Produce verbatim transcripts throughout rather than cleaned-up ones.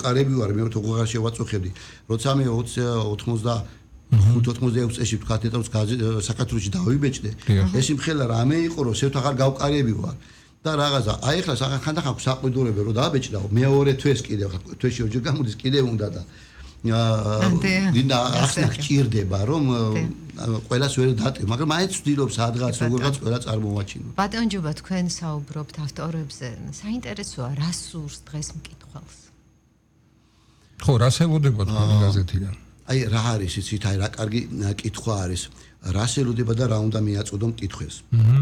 ყარები ვარ მე თოღარ შევაწუხებდი როცა მე ოცდახუთ ოცდაექვსი წელს ვთქვათ ეტავს საქართველოში დავიბეჭდე ეს იმხელა რამე იყო რომ შევთ აღარ გავყარები ვარ და რაღაცა აი ახლა ხანდახან საყვიდურები რომ დააბეჭდაო მეორე თვეს კიდე თვეში ორჯერ გამოდის კიდე უნდა და დინდა ახლა გჭირდება რომ ყველას ვერ დატევ მაგრამ მაინც ვცდილობ სადღაც როგორღაც ყველა წარმოვაჩინო ბატონ ჯუბა თქვენ საუბრობთ ავტორებზე საინტერესოა რა სურს დღეს მკითხველს ხო რას ელოდება თქვენი გაზეთიდან აი რა არის იცით აი რა კარგი კითხვა არის რას ელოდება და რა უნდა მიაწოდო მკითხველს აჰა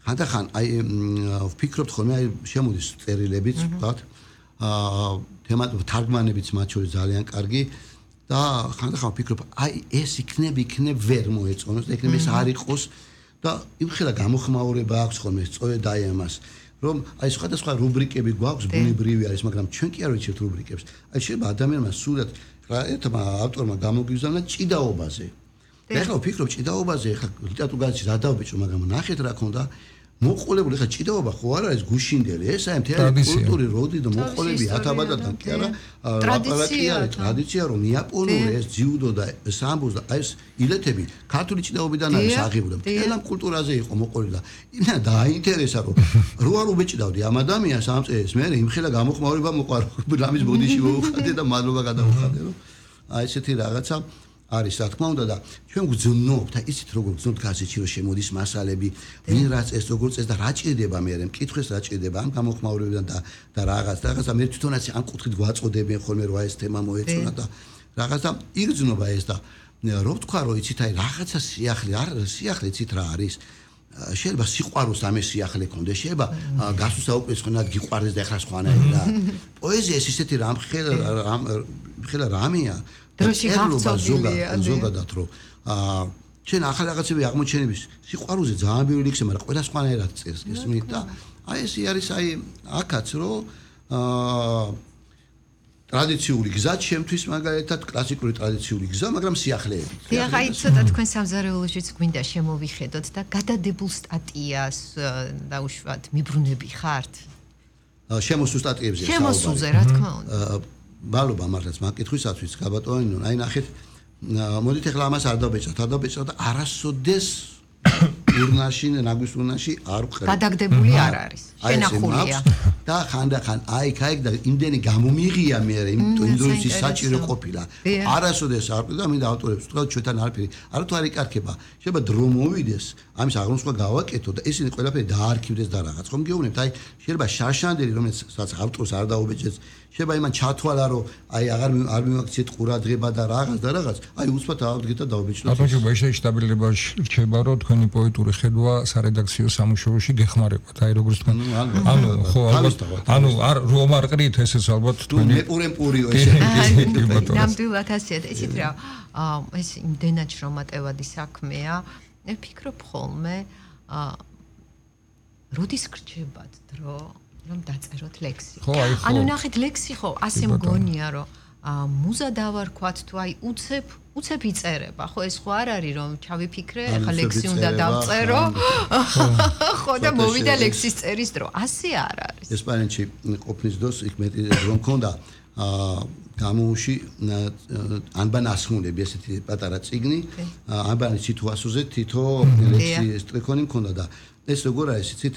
ხანდახან აი ვფიქრობთ ხოლმე აი შემოდის წერილებიც ვთქვათ აა თემა თარგმანებიც მათ შორის ძალიან კარგი და ხანდახან ვფიქრობ აი ეს იქნებ იქნებ ვერ მოეწონოს და იქნებ ეს არ იყოს და იმხელა გამოხმაურება აქვს ხოლმე სწორედ აი ამას რომ აი სხვადასხვა რუბრიკები გვაქვს ბუნებრივი არის მაგრამ ჩვენ კი არ ვიცით რუბრიკებს აი შეიძლება ადამიანმა სულად ერთმა ავტორმა გამოგიზავნა ჭიდაობაზე ეხლა ვფიქრობ ჭიდაობაზე ეხლა ლიტერატურაში რა დავბეჭო მაგრამ ნახეთ რა ქონდა მოყოლებული ეხლა ჭიდაობა ხო არ არის გუშინდელი ეს აი მთელი კულტური როდი და მოყოლები ათაბადადან კი არა ტრადიცია ტრადიცია რომ იაპონური ეს ძიუდო და სამბოს და ეს ილეთები ქართული ჭიდაობიდან არის აღებული მთელ ამ კულტურაზე იყო მოყოლილი და იმენა დააინტერესა რომ რო არ უბეჭდავდი ამ ადამიანს ამ წელს მე იმხელა გამოხმაურება მოყარ რამის ბოდიში მოუხადე და მადლობა გადავუხადე რომ აი ესეთი რაღაცა არის რა თქმა უნდა და ჩვენ გვძნობთ აი ისიც როგორ გძნობთ გაზეთში რომ შემოდის მასალები ვინ რაც ეს როგორ წეს და რა ჭირდება მე რე მკითხვის რა ჭირდება ამ გამოხმაურებიდან და და რაღაც რაღაცა მე თვითონაც ამ კუთხით გვაწოდებენ ხოლმე რომ აი ეს თემა მოეწონა და რაღაცა იგრძნობა ეს და რო ვთქვა რომ იცით აი რაღაცა სიახლე არ სიახლე იცით რა არის შეიძლება სიყვარულს ამე სიახლე კონდეს შეიძლება გასულ საუკეთესო ხანად გიყვარდეს და ეხლა სხვანაირი რა პოეზია ეს ისეთი რამ ხელა რამ ხელა რამეა დროში გახსოვილია ზოგადად რომ აა ჩვენ ახალ რაღაცები აღმოჩენების სიყვარულზე ძალიან ბევრი ლექსი მაგრამ ყველა სხვანაირად წერს გესმით და აი ეს არის აი აქაც რომ აა ტრადიციული გზა ჩემთვის მაგალითად კლასიკური ტრადიციული გზა მაგრამ სიახლეებით დიახ აი ცოტა თქვენ სამზარეულოშიც გვინდა შემოვიხედოთ და გადადებულ სტატიას დაუშვათ მიბრუნები ხართ შემოსულ სტატიებზე საუბარი შემოსულზე რა თქმა უნდა მადლობა მართლაც მაკითხვისათვის გაბატონინო აი ნახეთ მოდით ახლა ამას არ დავბეჭდავთ არ დავბეჭდავთ და არასოდეს ურნაში ნაგვის ურნაში არ ვყრებ გადაგდებული არ არის შენახულია და ხანდახან აი კაი და იმდენი გამომიღია მე იმ დროის საჭირო ყოფილა არასოდეს არ ვყრებ და მინდა ავტორებს ვთქვა ჩვენთან არაფერი არ თუ არ იკარგება შეიძლება დრო მოვიდეს ამის აღრმოსვა გავაკეთო და ისინი ყველაფერი დაარქივდეს და რაღაც ხომ გეუბნებთ აი შეიძლება შარშანდელი რომელსაც ავტორს არ დაუბეჭდეს შეიძლება იმან ჩათვალა რომ აი აღარ არ მიმაქციეთ ყურადღება და რაღაც და რაღაც აი უცბად ავდგეთ და დაუბეჭდოთ აბანჯობა ეს შტაბილებაში რჩება რომ თქვენი პოეტური ხედვა სარედაქციო სამუშაოში გეხმარებათ აი როგორც თქვენ ანუ ხო ალბათ ანუ არ რომ არ ყრით ესეც ალბათ თქვენი მეპურემპურიო ესე ნამდვილად ასეთ ისეთ რა ეს იმდენად შრომატევადი საქმეა მე ვფიქრობ ხოლმე როდის გრჩებათ დრო რომ დაწეროთ ლექსი. ანუ ნახეთ ლექსი ხო ასე მგონია რომ მუზა დავარქვათ თუ აი უცებ უცებ იწერება ხო ეს ხო არ არის რომ ჩავიფიქრე ახლა ლექსი უნდა დავწერო ხო და მოვიდა ლექსის წერის დრო ასე არ არის. ესპანეთში ყოფნის დროს იქ მეტი რომ მქონდა გამოუში ანბან ასმულები ესეთი პატარა წიგნი ანბანის სიტუაციაზე თითო ლექსი სტრიქონი მქონდა და ეს როგორ არის იცით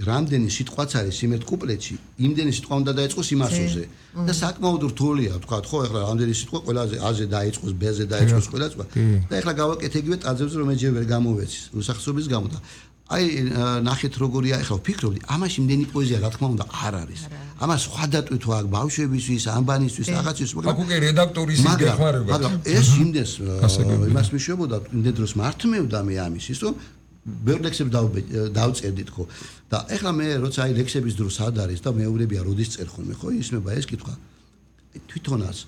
რამდენი სიტყვაც არის იმერთ კუპლეტში იმდენი სიტყვა უნდა დაიწყოს იმასოზე და საკმაოდ რთულია თქვა ხო ეხლა რამდენი სიტყვა ყველაზე აზე დაიწყოს ბეზე დაიწყოს ყველა სხვა და ეხლა გავაკეთე იგივე ტაძებზე რომ ეჯერ ვერ გამოვეცის უსახსრობის გამო და აი ნახეთ როგორია ეხლა ვფიქრობდი ამაში იმდენი პოეზია რა თქმა უნდა არ არის ამას სხვა დატვით აქ ბავშვებისთვის ანბანისთვის რაღაცის მაგრამ აქ უკვე რედაქტორის გეხმარება მაგრამ ეს იმდენს იმას მიშვებოდა იმდენ დროს მართმევდა მე ამის ის რომ ბევრ ლექსებს დავწერდით ხო და ეხლა მე როცა აი ლექსების დრო სად არის და მეუბნებია როდის წერ ხოლმე ხო ისმება ეს კითხვა თვითონაც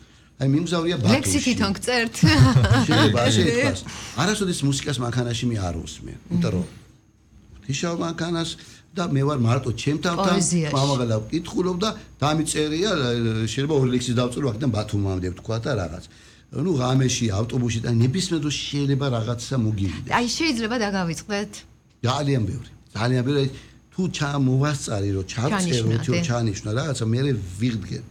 აი მიმგზავრია ბათუმში ლექსი თვითონ გწერთ შეიძლება ასე ითქვას არასოდეს მუსიკას მანქანაში მე არ ვუსმენ იმიტომ რომ ღვთისმშობ მანქანას და მე ვარ მარტო ჩემთან მამაგალა ვკითხულობ და დამიწერია შეიძლება ორი ლექსი დავწერო აქედან ბათუმამდე ვთქვა და რაღაც ну ღამეში ავტობუსში და ნებისმიერ დროს შეიძლება რაღაცა მოგივიდეს. აი შეიძლება დაგავიწყდეთ. ძალიან ბევრი. ძალიან ბევრი თუ ჩამოვასწარი რომ ჩავწერო თუ ჩანიშნა რაღაცა მე ვიღდგენ.